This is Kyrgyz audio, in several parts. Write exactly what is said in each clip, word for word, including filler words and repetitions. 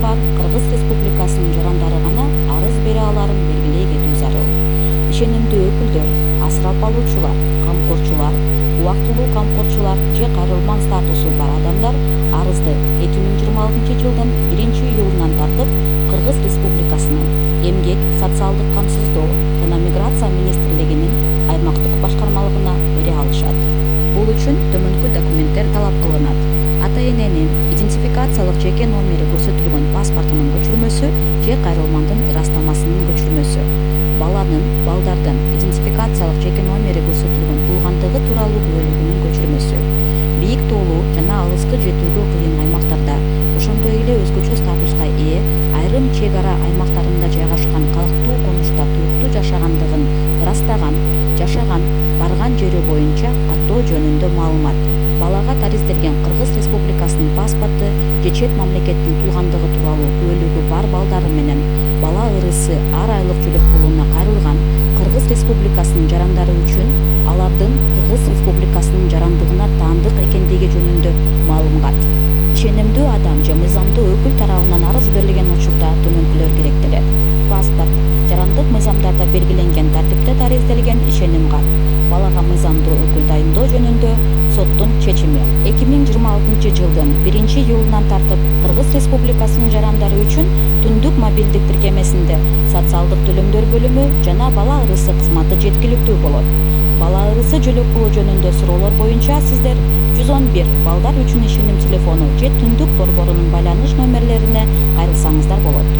бар Кыргыз Республикасынын жарандары гана арыз бере аларын белгилей кетүү зарыл. Ишенимдүү өкүлдөр, асырап алуучулар, камкорчулар, убактылуу камкорчулар же кайрылман статусу бар адамдар арызды эки миң жыйырма алтынчы жылдын биринчи июлунан тартып Кыргыз Республикасынын Эмгек, социалдык камсыздоо жана миграция министрлигинин аймактык башкармалыгына бере алышат. Бул үчүн төмөнкү документтер талап кылынат. Ата-эненин идентификациялык жеке номери көрсөтүлгөн паспортунун көчүрмөсү же кайрылмандын ырастамасынын көчүрмөсү, баланын, балдардын идентификациялык жеке номери көрсөтүлгөн туулгандыгы тууралуу күбөлүгүнүн көчүрмөсү, бийик тоолуу жана алыскы жетүүгө кыйын аймактарда, ошондой эле өзгөчө статуска ээ айрым чек ара аймактарында жайгашкан калктуу конушта туруктуу жашагандыгын ырастаган, жашаган, барган жери боюнча каттоо жөнүндө маалымат, балага таризделген Кыргыз Республикасынын паспорту же чет мамлекеттин туулгандыгы тууралуу күбөлүгү бар балдары менен бала ырысы ар айлык жөлөк пулуна кайрылган Кыргыз Республикасынын жарандары үчүн алардын Кыргыз Республикасынын жарандыгына таандык экендиги жөнүндө маалымат. Ишенимдүү адам же мыйзамдуу өкүл тарабынан арыз берилген учурда төмөнкүлөр керектелет. Паспорт, жарандык мыйзамдарда белгиленген тартипте таризделген ишеним кат, балага мыйзамдуу өкүл дайындоо жөнүндө соттун чечими. эки миң жыйырма алтынчы жылдын биринчи июлунан тартып Кыргыз Республикасынын жарандары үчүн түндүк мобилдик тиркемесинде социалдык төлөмдөр бөлүмү жана бала ырысы кызматы жеткиликтүү болот. Бала ырысы жөлөк пулу жөнүндө суроолор боюнча сиздер жүз он бир балдар үчүн ишеним телефону же түндүк борборунун байланыш номерлерине кайрылсаңыздар болот.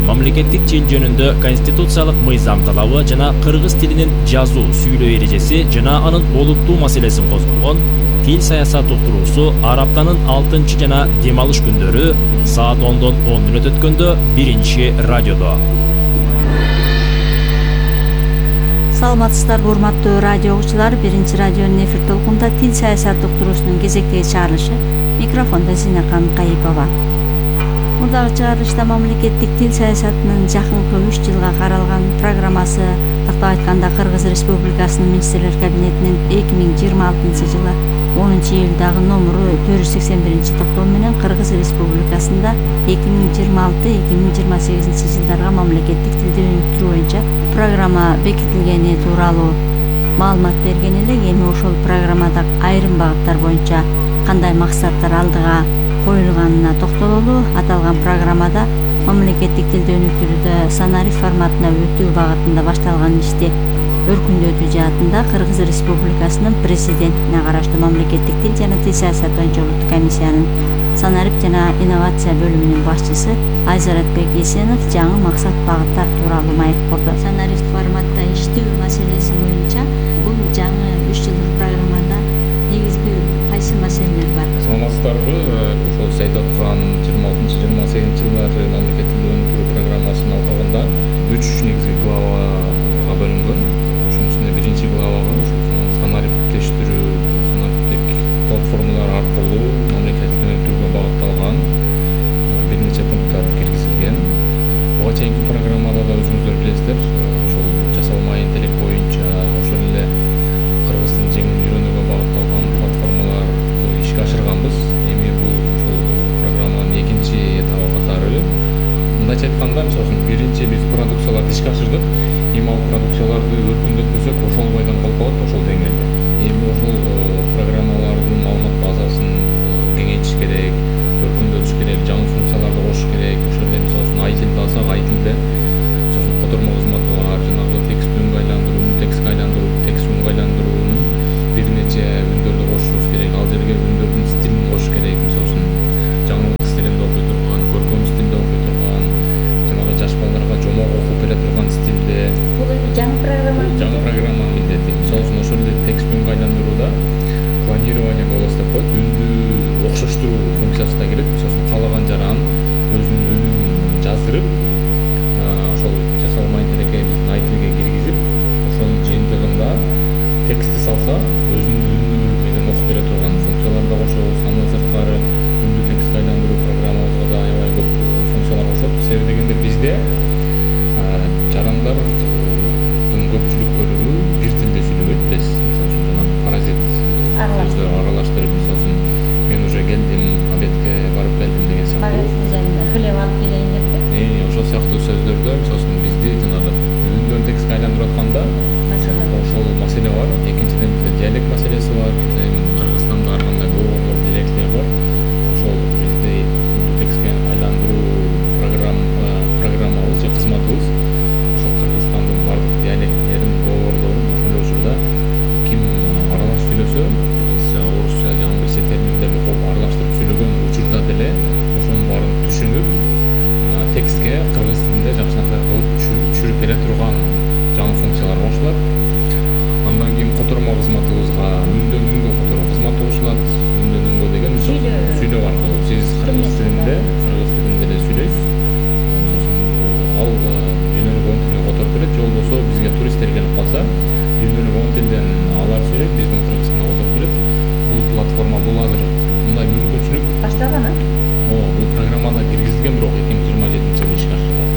Мамлекеттик тил жөнүндө конституциялык мыйзам талабы жана кыргыз тилинин жазуу, сүйлөө эрежеси жана анын олуттуу маселесин козгогон тил саясат уктуруусу ар аптанын алтынчы жана дем алыш күндөрү саат ондон он мүнөт өткөндө биринчи радиодо. Саламатсыздарбы урматтуу радио угуучулар, биринчи радионун эфир толкунда тил саясат уктуруусунун кезектеги чыгарылышы. Микрофондо Зинакан Кайыпова. Мурдагы чыгарылышта мамлекеттик тил саясатынын жакынкы үч жылга каралган программасы, тактап айтканда Кыргыз Республикасынын министрлер кабинетинин эки миң жыйырма алтынчы жылы онунчу июлдагы номуру төрт жүз сексен биринчи токтом менен Кыргыз Республикасында эки миң жыйырма алты эки миң жыйырма сегизинчи жылдарга мамлекеттик тилди өнүктүрүү боюнча программа бекитилгени тууралуу маалымат берген эле. Эми ошол программада айрым багыттар боюнча кандай максаттар алдыга коюлганына токтололу. Аталган программада мамлекеттик тилди өнүктүрүүдө санарип форматына өтүү багытында башталган ишти өркүндөтүү жаатында Кыргыз Республикасынын президентине караштуу мамлекеттик тил жана тил саясаты боюнча улуттук комиссиянын санарип жана инновация бөлүмүнүн башчысы Айзаратбек Эсенов жаңы максат багыттар тууралуу маек корду. Санарип форматта иштөө маселеси боюнча бул жаңы үч жылдык программада негизги кайсы маселелер бар? Саламатсыздарбы? Ошол сиз айтып аткан жыйырма алтынчы жыйырма сегизинчи жылдары мамлекеттик тилди өнүктүрүү программасын алганда үч негизги главага бөлүнгөн. Ошонун ичинде биринчи главага санариптештирүү, санариптик платформалар аркылуу мамлекеттик тилди өнүктүрүүгө багытталган бир нече пункттар киргизилген. Буга чейинки программада да өзүңүздөр билесиздер, ошол жасалма интеллект боюнча ошол эле кыргыз тилин жеңил үйрөнүүгө багытталган платформалар ишке ашырганбыз. Эми бул ошол программанын экинчи этабы катары. Мындайча айтканда, мисалы үчүн биринчи биз продукцияларды ишке ашырдык. Эми ал продукцияларды өркүндөтпөсөк, ошол бойдон калып калат, ошол деңгээлде. Эми ошол программалардын маалымат базасын кеңейтиш керек, өркүндөтүш керек, жаңы функцияларды кошуш керек. Ошол эле мисалы үчүн ай тилди алсак, ай тилде мисалы үчүн котормо кызматы бар, жанагы текст үнгө айландыруу, текстке айландыруу, текст үнгө айландыруунун бир нече үндөрдү кошушубуз керек. Ал жерге үндөрдүн стилин кошуш керек. Мисалы үчүн жаңылык стилинде окуй турган, көркөм стилде окуй турган, жанагы жаш балдарга жомок окуп бере турган стилде. Бул жаңы программа. Жаңы программанын милдети. Мисалы үчүн ошол эле текст үнгө айландырууда планирование голоса деп коет, үндү окшоштуруу функциясы да кирет. Мисалы үчүн каалаган жаран өзүнүн үнүн жаздырып, ошол жасалма интеллектке биздин ай тилге киргизип, ошонун жыйынтыгында текстти салса, өзүнүн үнү менен окуп бере турган функциялар да кошобуз. Андан сырткары үндү текстке айландыруу программабызга да аябай көп функциялар кошот. Себеби дегенде бизде жарандардын көпчүлүк бөлүгү бир тилде сүйлөбөйт. Биз мисалы үчүн жана паразит тилден алар сүйлөйт, биздин кыргыз тилине которуп берет. Бул платформа бул азыр мындай мүмкүнчүлүк башталган. О, бул программада киргизилген, бирок эки миң жыйырма жетинчи жылы ишке ашырылат.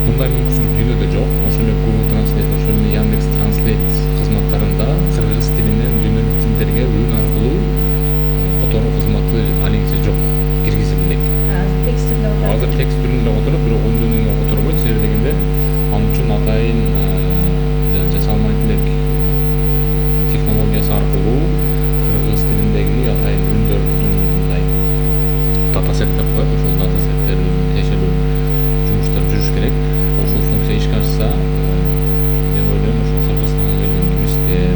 Мындай мүмкүнчүлүк дүйнөдө жок. Ошол эле Google Translate, ошол эле Яндекс Translate кызматтарында кыргыз тилинен дүйнөлүк тилдерге үн аркылуу которуу кызматы алиңче жок, киргизилмек. Текст түрүндө Азыр текст түрүндө которот, бирок үндөнүүгө которбойт. Себеби дегенде ал үчүн атайын жасалма интеллект технологиясы аркылуу кыргыз тилиндеги атайын үндөрдүн мындай датасет деп коет. Ошол датасеттер өзүнүн тиешелүү жумуштар жүрүш керек. Ошол функция ишке ашса, мен ойлойм, ошол Кыргызстанга келген туристтер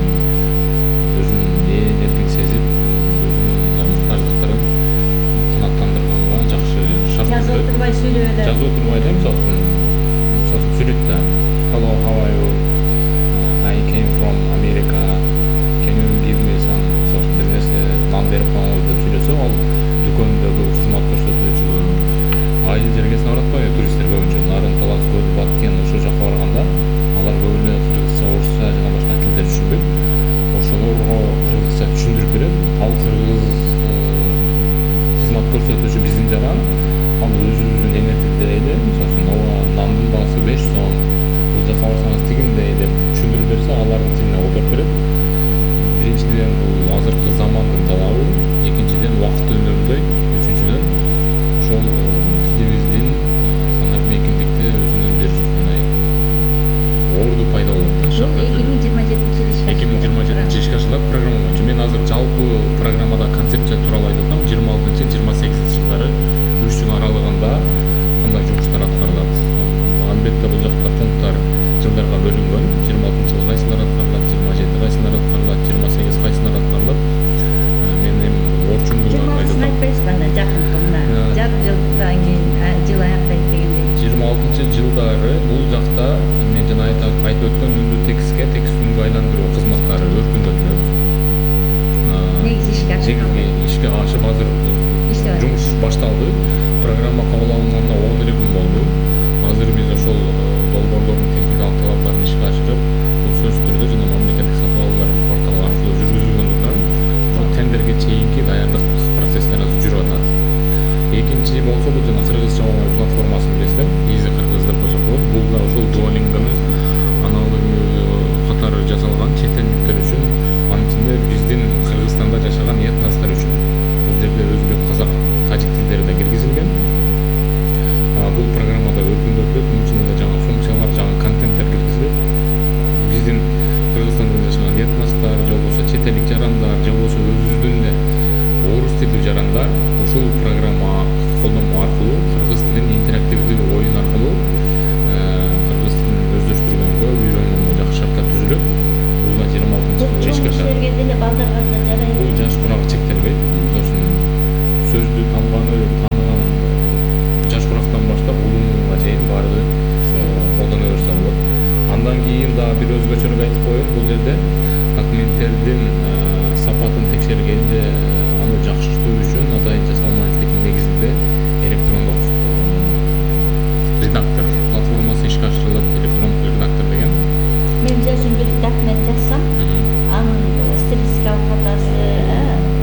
өзүнүн ээн эркин сезип, өзүнүн муктаждыктарын канааттандырганга жакшы шарт. жазып турбай сүйлөдө. Жазып турбай эле мисалы мисалы сүйлөйт да. Hello, how are you? Uh, I came from America. Can you give me some sort of business нан берип коюңуз деп сүйлөсө, ал дүкөндөгү кызмат көрсөтүүчү айыл жергесине барат го, туристтер көбүнчө Нарын, Талас, Көз, Баткен ошол жака барганда алар көп эле кыргызча, орусча жана башка тилдер түшүнбөйт. Ошолорго кыргызча түшүндүрүп берет. Ал кыргыз кызмат көрсөтүүчү биздин жаган ал өзүбүздүн эне тилде эле, мисалы ооба нандын баасы беш сом, бул жака барсаңыз тигиндей деп түшүндүрүп берсе, алардын тилине которуп берет. Биринчиден бул азыркы замандын талабы, экинчиден убакыт үнөмдөйт, үчүнчүдөн ошол тилибиздин санап эркиндикте өзүнүн бир мындай орду пайда болот да. эки миң жыйырма жетинчи жылы эки миң жыйырма жетинчи ишке ашырылат программа боюнча. Мен азыр жалпы программада концепция тууралуу айтып атам. жыйырма алтынчы жыйырма сегизинчи жылдары үч жыл аралыгында кандай жумуштар аткарылат. Албетте бул жакта пункттар жылдарга бөлүнгөн. жыйырма алтынчы жылы кайсылар аткарылат, жыйырма жети кайсылар аткарылат, жыйырма сегиз кайсылар аткарылат. Мен эми орчундуу айтып атпайсызбы анда жакынкы мына жарым жылдан кийин жыл аяктайт дегендей. жыйырма алтынчы жылдары бул жакта мен жана айтып өткөн үндү текстке, текст үнгө айландыруу кызматтары өркүндөтүлөт. Негизи ишке ашырылды. Ишке ашып азыр жумуш башталды. Программа кабыл алынганына он эле күн болду. Азыр биз ошол долбоорлордун техникалык талаптарын ишке ашырып, бул сөзсүз түрдө жана мамлекеттик сатып алуулар порталы аркылуу жүргүзүлгөндүктөн ошол тендерге чейинки даярдык процесстери азыр жүрүп атат. Экинчи болсо бул жана кыргызча оңой платформасын билесиздер, Easy Кыргыз деп койсок болот. Бул да ошол Duolingo'нун аналогу катары жасалган чет элдиктер үчүн, анын ичинде биздин Кыргызстанда жашаган этностор үчүн. Бул жерде өзбек, казак, тажик тилдери да киргизилген. Бул программада өркүндөтүлөт, мунун ичинде да жаңы функциялар, жаңы контенттер киргизилет. Биздин Кыргызстанда жашаган этностор, же болбосо чет элдик жарандар, же болбосо өзүбүздүн эле орус тилдүү жарандар ушул программа колдонуу аркылуу кыргыз тилин интерактивдүү оюн аркылуу кыргыз тилин өздөштүргөнгө, үйрөнгөнгө жакшы шарттар түзүлөт. Бул да жыйырма алтынчы жылы ишке ашат. Деле балдарга да жарайт. Бул жаш курагы чектелбейт. Мисалы сөздү танганы, таныган жаш курактан баштап улууга чейин баары колдоно берсе болот. Андан кийин дагы бир өзгөчөлүк айтып коеюн. Бул жерде документтердин сапатын текшергенде аны жакшыртуу үчүн атайын жасалма интеллектин негизинде электрондук редактор платформасы ишке ашырылат. Электрондук редактор деген. Мен мисалы үчүн бир документ жазсам, анын стилистикалык катасы,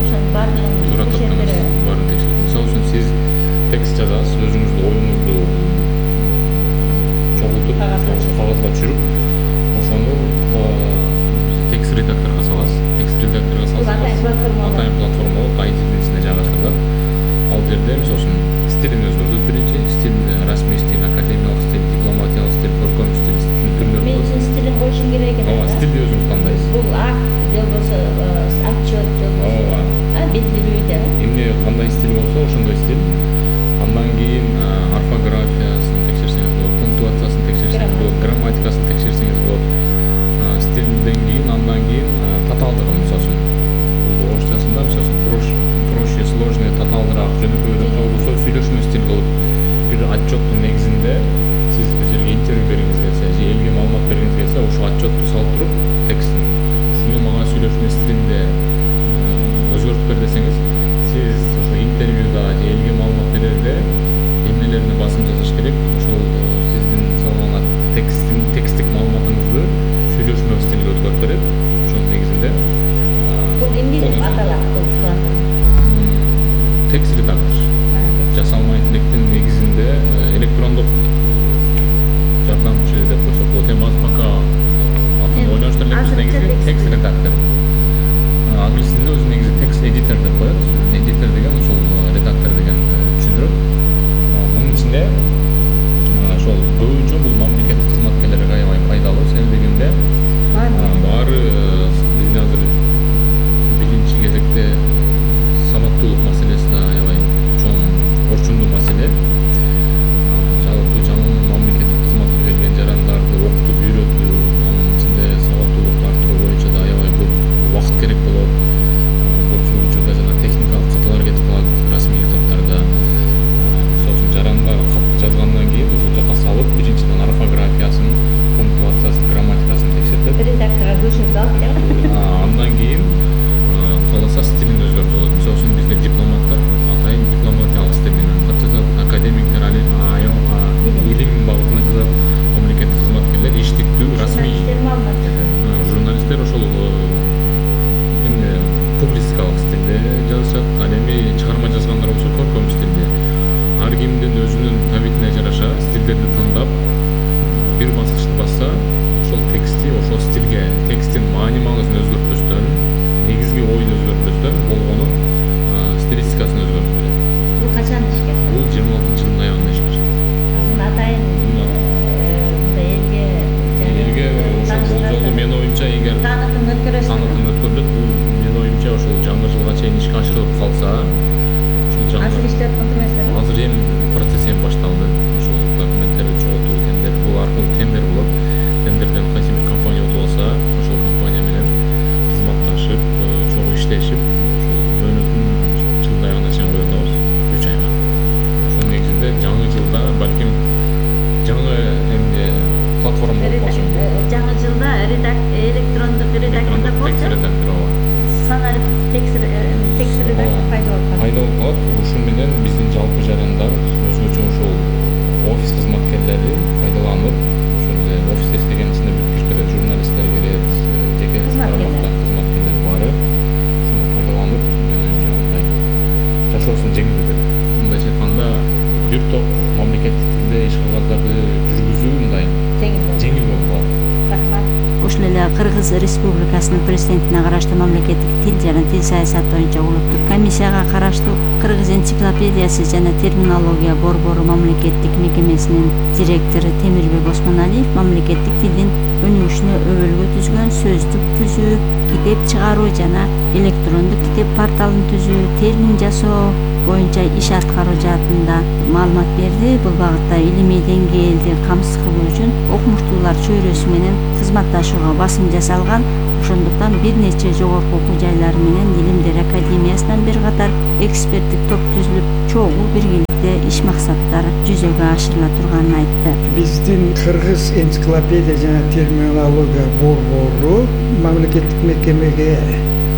ошонун баардыгын текшертип, баарын текшертип. Мисалы үчүн сиз текст жазасыз, өзүңүздүн оюңузду чогултуп, кагазга түшүрүп, ошону текст редакторго саласыз. Текст редакторго салсаңыз, атайын платформа болот, ай ти ичинде жайгаштырылат. Ал жерде мисалы үчүн стилин өзгөртөт биринчи, стиль, расмий стиль, академиялык стиль, дипломатиялык стиль, көркөм стиль, стиль түрлөрү. Мен үчүн стилин коюшум керек экен. Ооба, стилди өзүңүз тандайсыз. Бул акт, же болбосо отчет, же болбосо белгилүүдө. Эмне кандай стиль болсо, ошондой стиль. Андан кийин орфографиясын текшерсеңиз болот, пунктуациясын текшерсеңиз болот, грамматикасын текшерсеңиз болот. Стилден кийин, андан кийин татаалдыгын, мисалы үчүн, бул орусчасында мисалы үчүн проще, сложный, татаалдыраак, жөнөкөйрөөк болбосо сүйлөшмө стиль кылып бир отчеттун негизинде сиз бир жерге интервью бергиңиз келсе, же элге маалымат бергиңиз келсе, ошол отчетту салып туруп текстин ушуну мага сүйлөшмө стилинде өзгөртүп бер десеңиз, сиз ошо интервьюда же элге маалымат берерде негизи текст редактор. Англис тилинде өзү негизи текст эдитор деп коет. Эдитор деген ошол редактор деген түшүндүрөт. Мунун ичинде ошол көбүнчө бул мамлекеттик кызматкерлерге аябай пайдалуу. Себеби дегенде баары бизде азыр биринчи кезекте сабаттуулук маселеси да аябай чоң орчундуу маселе. Жалпы жаңы мамлекеттик кызматка келген жарандарды окутуп үйрөтүү, анын ичинде сабаттуулукту арттыруу боюнча да аябай көп убакыт керек болот. Көпчүлүк учурда жана техникалык каталар кетип калат расмий каттарда. Мисалы үчүн жаранга кат жазгандан кийин ошол жака салып, биринчиден орфографиясын, пунктуациясын, грамматикасын текшертет. Редакторго көчүрүп алып, андан кийин кааласа стилин өзгөртүп алат. Мисалы үчүн бизде дипломаттар атайын дипломатиялык стил менен кат жазат, академиктер али айыл илим багытына жазат, мамлекеттик кызматкерлер иштиктүү, расмий журналисттер ошол эмне публистикалык стилде жазышат, ал эми чыгарма жазгандар болсо көркөм стилде. Ар кимдин өзүнүн табитине жараша стилдерди тандап, бир баскычты басса, ошол тексти ошол стилге, тексттин маани маңызын өзгөртпөстөн, негизги ойду өзгөртпөстөн болгону стилистикасын өзгөртүп берет. бул качан ишке ашат? Бул жыйырма алтынчы жылдын аягында ишке ашат. Муну атайын мындай элге Элге ошол болжолу менин оюмча эгер таанытым өткөрөсүн. таанытым өткөрүлөт, бул менин оюмча ошол жаңы жылга чейин ишке ашырылып калса, ошол жаңы Азыр иштеп аткан эмеспи? азыр эми процесс эми башталды. Ошол документтерди чогултуу, тендер, бул аркылуу тендер болот. Тендерден кайсы бир компания утуп алса, ошол компания менен кызматташып, чогуу иштешип, ошол мөөнөтүн жылдын аягына чейин коюп атабыз, үч айга. Ошол негизинде жаңы жылда балким жаңы эмне платформа болуп калышы мүмкүн. Жаңы жылда электрондук редактордо Текст редактор ооба. саналь текст текст редактор пайда болуп калат. Пайда болуп калат. Ушун менен биздин жалпы жарандар өзгөчө ошол офис кызматкерлери пайдаланып, ошол офисте иштеген ичинде бүт кирпеде журналисттер кирет, жеке тармактан кызматкерлер баары ушуну пайдаланып, жанагындай жашоосун жеңилдетет. Мындайча айтканда, бир топ мамлекеттик тилде иш кагыздарды жүргүзүү мындай жеңил болуп калат. Рахмат. Ошол эле Кыргыз Республикасынын президентине караштуу мамлекеттик тил жана тил саясаты боюнча улуттук комиссияга караштуу Кыргыз энциклопедиясы жана терминология борбору мамлекеттик мекемесинин директору Темирбек Осмоналиев мамлекеттик тилдин өнүгүшүнө өбөлгө түзгөн сөздүк түзүү, китеп чыгаруу жана электрондук китеп порталын түзүү, термин жасоо боюнча иш аткаруу жаатында маалымат берди. Бул багытта илимий деңгээлди камсыз кылуу үчүн окумуштуулар чөйрөсү менен кызматташууга басым жасалган. Ошондуктан бир нече жогорку окуу жайлары менен Илимдер академиясынан бир катар эксперттик топ түзүлүп, чогуу биргеликте иш максаттары жүзөгө ашырыла турганын айтты. Биздин Кыргыз энциклопедия жана терминология борбору мамлекеттик мекемеге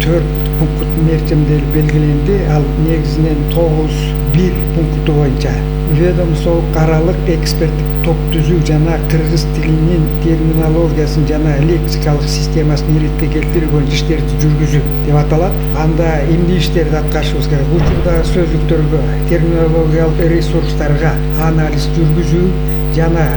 төрт пункт мерчемделип белгиленди. Ал негизинен тогуз бир пункту боюнча ведомстволук аралык эксперттик топ түзүү жана кыргыз тилинин терминологиясын жана лексикалык системасын иликке келтирүү боюнча иштерди жүргүзүү деп аталат. Анда эмне иштерди аткарышыбыз керек? Учурдагы сөздүктөргө, терминологиялык ресурстарга анализ жүргүзүү жана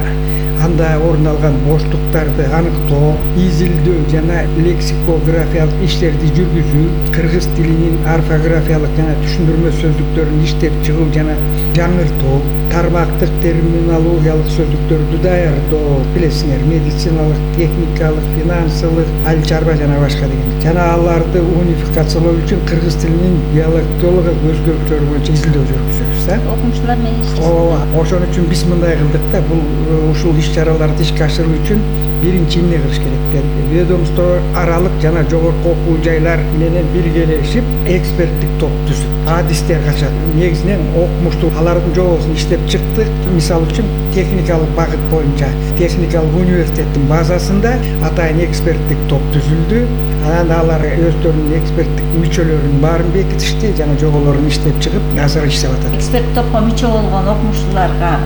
анда орун алган боштуктарды аныктоо, изилдөө жана лексикографиялык иштерди жүргүзүү, кыргыз тилинин орфографиялык жана түшүндүрмө сөздүктөрүн иштеп чыгуу жана жаңыртуу, тармактык терминологиялык сөздүктөрдү даярдоо, билесиңер, медициналык, техникалык, финансылык, айыл чарба жана башка деген. Жана аларды унификациялоо үчүн кыргыз тилинин диалектологиялык өзгөрүктөрү боюнча изилдөө жүргүзөбүз да. Окумуштуулар менен иштейсиз. Ооба, ошон үчүн биз мындай кылдык да, бул ушул иш-чараларды ишке ашыруу үчүн биринчи эмне кылыш керек деди. Ведомство аралык жана жогорку окуу жайлар менен биргелешип эксперттик топ түзүп, адистер качат. Негизинен окумуштуу алардын жобосун иштеп чыктык. Мисалы үчүн техникалык багыт боюнча техникалык университеттин базасында атайын эксперттик топ түзүлдү. Анан алар өздөрүнүн эксперттик мүчөлөрүнүн баарын бекитишти жана жоболорун иштеп чыгып, азыр иштеп атат. Эксперт топко мүчө болгон окумуштууларга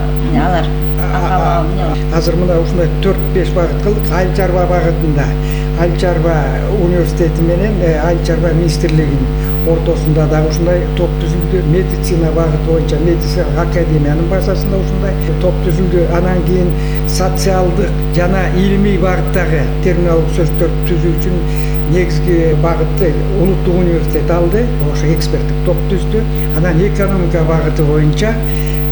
алар азыр мына ушундай төрт беш багыт кылдык. Айыл чарба багытында Айыл чарба университети менен Айыл чарба министрлигинин ортосунда дагы ушундай топ түзүлдү. Медицина багыты боюнча медицина академиянын базасында ушундай топ түзүлдү. Анан кийин социалдык жана илимий багыттагы терминологдук сөздөрдү түзүү үчүн негизги багытты улуттук университет алды. Ошо эксперттик топ түздү. Анан экономика багыты боюнча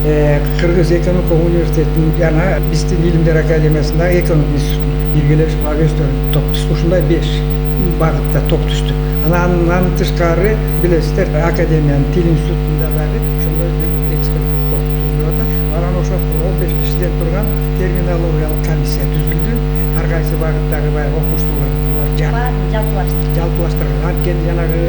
Кыргыз экономика университетинин жана биздин илимдер академиясындагы экономика институтунун биргелешип өздөрү топ түздү. Ушундай беш багытта топ түздү. Анан тышкары билесиздер, академиянын тил институтунда дагы ошондой бир эксперттик топ түзүлүп атат. Анан ошо он беш кишиден турган терминологиялык комиссия түзүлдү. Ар кайсы багыттагы баягы окумуштуулар жалпылаштырып жалпылаштырган. Анткени жанагы